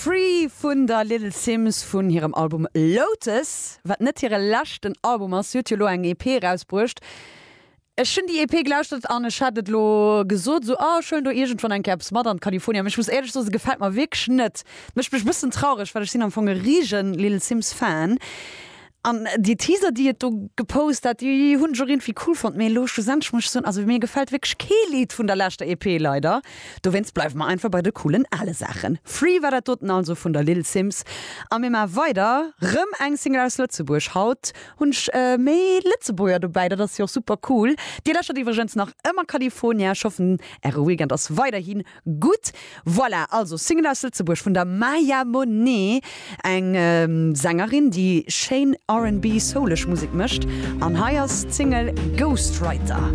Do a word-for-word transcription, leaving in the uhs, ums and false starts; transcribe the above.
Free vun der Little Simz vun hirem Album Lotus, wat net hire leschten Album ass. Si huet jo elo eng E P erausbruecht. Ech hunn déi E P gelauschtert an ech hat et elo gesot, sou, ah, ech huelen do iergendwann eng Kéier eppes mat an d'California. Mee ech muss éierlech soen, se gefält mer wierklech net. Mécht mech e bëssen traureg, well ech sinn am Fong e risegen Little Simz Fan. An déi Teaser, déi et do gepost hat, déi hunn ech och iergendwéi cool fonnt. Mee elo schlussendlech muss ech soen, also mir gefält wierklech kee Lidd vun der leschter E P leider. Dowéinst bleiwe mer einfach bei de coolen ale Saachen. Free war dat doten also vun der Little Simz. A mir maache weider, rëm eng Single aus Lëtzebuerg. Haut hunn ech méi Lëtzebuerger dobäi, dat ass jo och super cool. Dir lauschtert iwwregens nach ëmmer California. Ech hoffen, äre Weekend ass weiderhi gutt. Voilà, also Single aus Lëtzebuerg vun der Maya Monet, eng Sängerin, déi schéin R and B souleg Musek mécht. An hei ass d'Single Ghostwriter.